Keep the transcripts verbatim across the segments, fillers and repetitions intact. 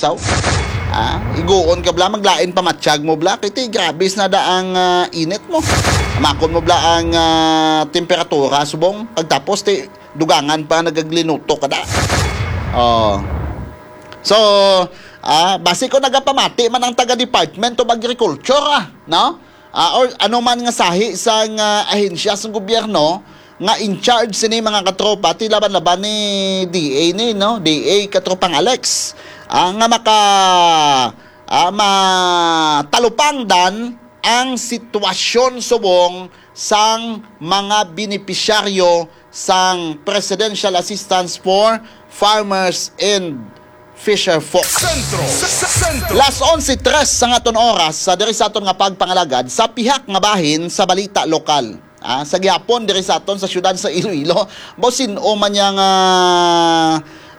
Taw. Ah, iguon ka bala, maglain pa matsyag mo bala. Kay ti, grabe na da ang, ah, init mo. Amakon mo bala ang, ah, temperatura, subong. Pagtapos, ti, dugangan pa, nagaglinuto ka da. Oh. So, ah, basi ko nagapamati man ang taga Department of Agriculture, ah, no? Ah, or ano man nga sahi sang, ah, ahensya sang gobyerno nga in charge sini, mga katropa, ti laban-laban ni D A ni, no? D A, katropang Alex, ah, nga maka, ah, matalupangdan ang sitwasyon subong sang mga benepisyaryo sang Presidential Assistance for Farmers and Fisher Folk. Sentro. Sentro. Las onse tres sa aton oras, sa diri sa aton nga pagpangalagad sa pihak nga bahin sa balita lokal. Ah, sa gihapon diri sa aton sa siyudad sa Iloilo, baw sin-o man niya nga,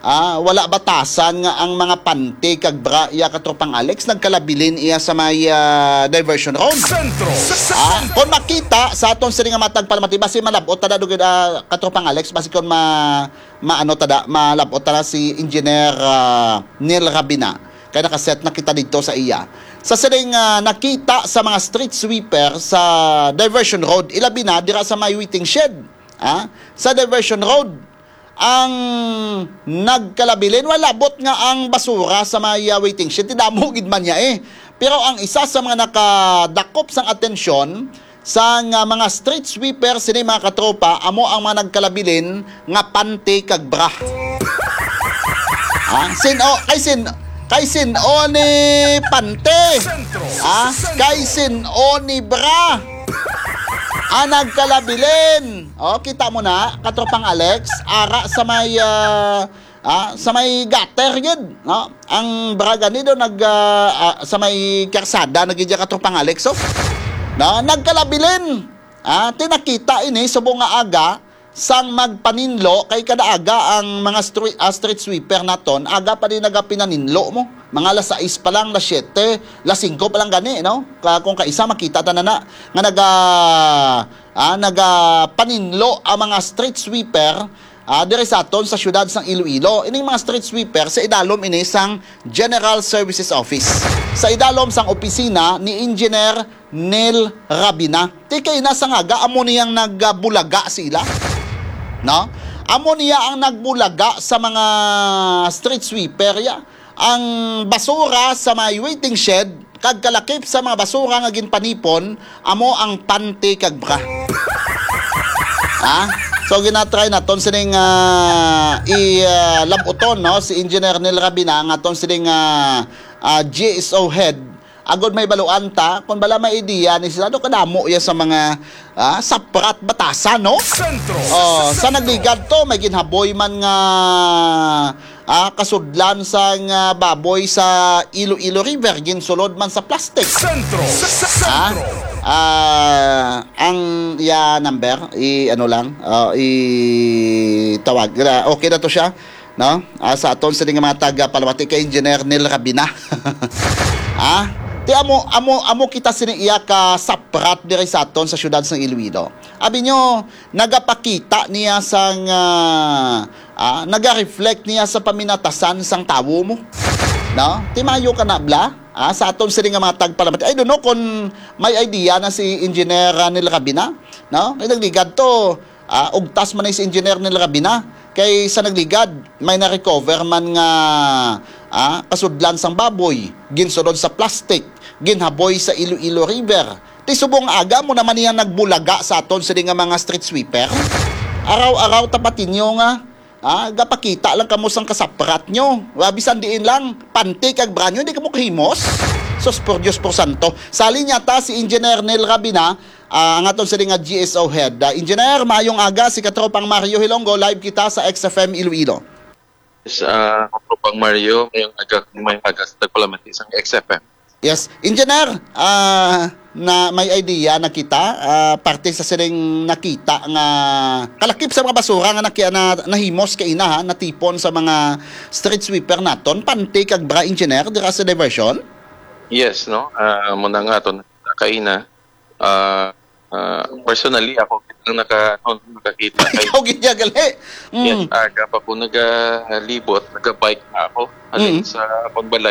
ah, wala batasan nga ang mga panty kag bra iya, katropang Alex, nagkalabilin iya sa may, ah, diversion road. Sentro. Ah, kung makita sa aton sini nga matag palamati, basi malab-ot ta na dugid, ah, katropang Alex, basi kung ma-, maano ta da, malab-ot ta na si Engineer, ah, Neil Rabina. Kay nakaset na kita dito sa iya. Sa sining, ah, nakita sa mga street sweeper sa diversion road, ilabi na dira sa may waiting shed, ah, sa diversion road, ang nagkalabilin, wala, labot nga ang basura sa may, ah, waiting shed, ti damo gid man niya, eh. Pero ang isa sa mga nakadakop sang atensyon, sang, ah, mga street sweeper sini, mga katropa, amo ang mga nagkalabilin nga panty kag bra. Ah, sin-o, kay sin-, kay sin-o ni panty? Ah, kay sin-o ni bra? Ah, nagkalabilin. Oh, kita mo na, katropang Alex, ara sa may, ah, ah, sa may gutter gid, no? Ang bra gani do nag, ah, ah, sa may karsada na gid ya, katropang Alex, oh. No, nagkalabilin. Ah, ti nakita ini subong nga aga sang magpaninlo, kay kada aga ang mga stre-, ah, street sweeper naton, aga pa din nagapinaninlo mo. Mga alas sais pa lang, alas siyete, alas singko pa lang gani, no? Ka-, kung kaisa, makita ta na na nga naga-, ah, nagapaninlo ang mga street sweeper, ah, diri sa aton sa siyudad sang Iloilo. Ining mga street sweeper sa idalom ini sang General Services Office, sa idalom sang opisina ni Engineer Neil Rabina. Ti kay na sa ngaga, amo niyang nagbulaga sila. No? Amo niya ang nagbulaga sa mga street sweeper, ya. Ang basura sa may waiting shed, kag kalakip sa mga basura nga ginpanipon, amo ang panty kag bra. Ha? So, ginatry naton sining, ah, i, ah, labuton, no? Si Engineer Neil Rabina, ang aton sining, ah, ah, G S O head, agod may baluan ta, kung bala may idea ni sila, ano kadamo ya sa mga, ah, saprat batasan, no? Sentro. Oh, sa nagligad to, may ginhaboy man nga, ah, kasudlan sang, ah, baboy sa Iloilo River, ginsulod man sa plastic. Sentro. Ah, Sentro. Ah, ang iya number, i-, ano lang, ah, i-tawag. Ah, okay na to siya, no? Ah, sa aton sini nga mga taga Palamati kay Engineer Neil Rabina. Ah, ti amo, amo, amo kita sini iya ka saprat diri sa aton sa siyudad sang Iloilo. Abi nyo, nagapakita niya sang, ah, ah, naga-reflect niya sa paminatasan sang tawo mo. No? Ti mayo ka na, bla? Ah, sa aton sini nga mga tagpalamati. I don't know kung may idea na si Engineer, ah, Neil Rabina, no? Kay nagligad to, ah, ugtas man ni si Engineer Neil Rabina. Kay sa nagligad, may na-recover man nga, ah, kasudlan sang baboy, ginsulod sa plastic, ginhaboy sa Iloilo River. Ti subong aga mo naman niya nagbulaga sa aton sini nga mga street sweeper. Araw-araw tapatin nyo nga, ah, gapakita lang kamo sang kasaprat nyo. Wa, bisan diin lang, panty kag bra nyo, hindi kamo kahimos. Sus, por Dios, por santo. Sa linya ta si Engineer Neil Rabina, ah, ang aton sini nga G S O head. Ah, Engineer, maayong aga, si Katropang Mario Hilonggo, live kita sa X F M Iloilo. Yes, ah, Katropang Mario, maayong aga, maayong aga sa tagpalamati sang X F M. Yes, Engineer, ah, na may idea na kita, ah, parte sa sining nakita nga kalakip sa mga basura nga naki-, na, nahimos kaina, ha, natipon sa mga street sweeper naton, panty kag bra, Engineer, dira sa diversion? Yes, no? Ah, muna nga aton kaina. Ah, ah, personally, ako ang naka-, ano, nakakita kay Ikaw gid ya gali. Yes, Mm. aga pa ko nagalibot, naga-bike na ako. Halin Mm. sa akong balay,